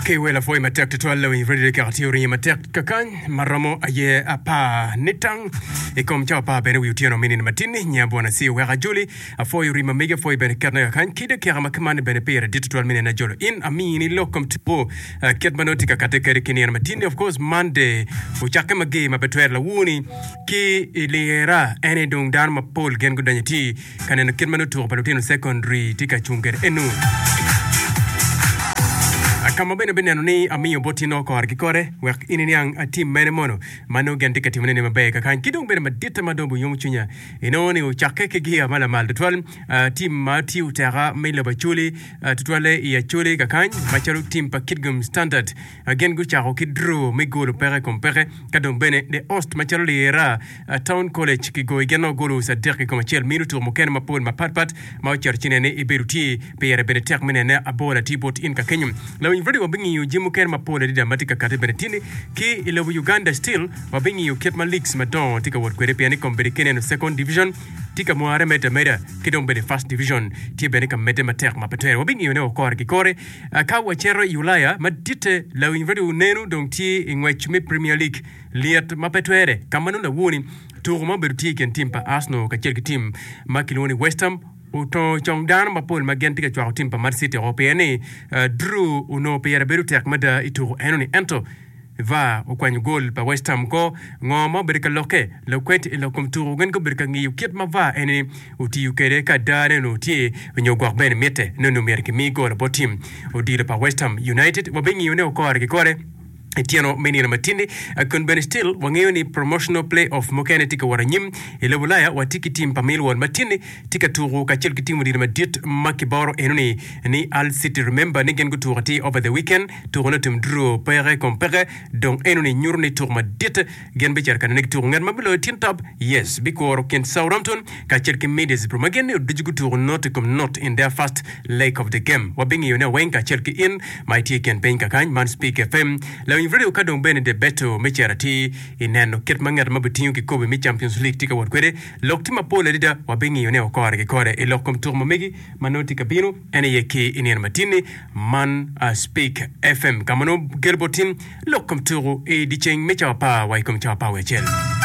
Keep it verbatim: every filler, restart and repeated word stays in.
Ake wel apwoyo matek tutwal lawiny radio kaka tye oringo matek kakany maromo aye apar nitang i kom cawa apar bene wi otyeno me nino matin-ni nya bwana ci oweko ajoli apwoyo rima mege apwoyo bene ketne kakany ki dakika ma kimanni bene pire dit tutwal me neno ajolo in amini lok kom tipo eh, kit ma nongo tye ka katte kwede ki nino matin-ni of course Monday ocakke mager ma pe twero lawuni ki i lira en aye dong dano mapol gin gudonyo tye ka neno kit ma nongo tuko pa lutino secondary tye ka cung kwede eno. Ka ma bene abineno ni amiyo boti nongo kore ki kore wek in iniang atim mene mono ma nongo gin tye ka timone ni maber kakany ki dong bene maditte ma dong oyomo cwinya inongo ni ocakke ki gia ma lamal tutwal tim ma tye oteka me lobo Acholi tutwalle i Acholi kakany macalo tim pa Kitgum Standard gin gucako ki draw me golo peke i kom peke ka dong bene The Host macalo lira Town College kigoyo gin nongo golo adek i kom acel mino tuko mukene mapol mapatpat ma ocito ci nene ibedo tye pire bene tek me nene abola tye bot in ka kenyo. Lawiny radio wabingiyo jami mukene mapol adada ma tye ka kati bene tye ni ki i lobo Uganda still wabingiyo kit ma leagues madongo tye ka wot kwede pien ni kombeddi ki neno second division tye ka mware medde ameda ki dong bene first division tye bene ka medde matek ma pe twere wabingiyo ne kore ki kore ka wacito i Ulaya maditte lawiny radio neno dong tye i ngwec me Premier League Lyet ma pe twere ka ma nongo lawoni tuko ma obedo tye i kin tim pa Arsenal kacel ki tim ma kilwongo ni West Ham otongo cong dano mapol ma gin tye ka cwako tim pa Man City oko pien ni draw onongo pire bedo tek mada i tuko enoni ento VAR okwanyo gol pa West Ham ko. Ngo ma obedo ka lokke? Lukwed i lok kom tuko gin gubedo ka ngiyo kit ma VAR eni otiyo kwede ka adane onongo tye nyo gwok bene mitte ni onongo myero kimi gol bot tim odilo pa West Ham United. Wabingiyo ne kore ki kore. I tyeno me nino matindi, kun bene still wangeyo ni promotional play off mukene tye ka wot anyim. I lobo Ulaya watye ki tim pa Millwall ma tye-ni tye ka tuku kacel ki tim odilo madit ma kiboro enoni ni Hull City. Remember ni gin gutuko atir over the weekend, tuko ne otim draw peke kom peke, dong enoni nyuto ni tuko madit gin bicito ka nene gituko. Ngat ma biloyo tin top, yes, bikuro kin Southampton kacel ki Middlesbrough ma gin ni ducu gutuko not i kom not in their first leg of the game. Wabingiyo ne weng kacel ki in ma itye i kin piny kakany man Speak FM Lawiny Radio ka dong bene debeto me cito atir i neno kit ma ngat ma bitingo kikobi me Champions League tye ka wot kwede. Lok tye mapol adada wabingiyo ne kore ki kore i lok kom tuko ma megi ma nongo tye ka bino en aye ki i nino matin-ni man Speak FM ka ma nongo kelo bot tin lok kom tuko i dyeceng me cawa apar wa i kom cawa apar wiye acel.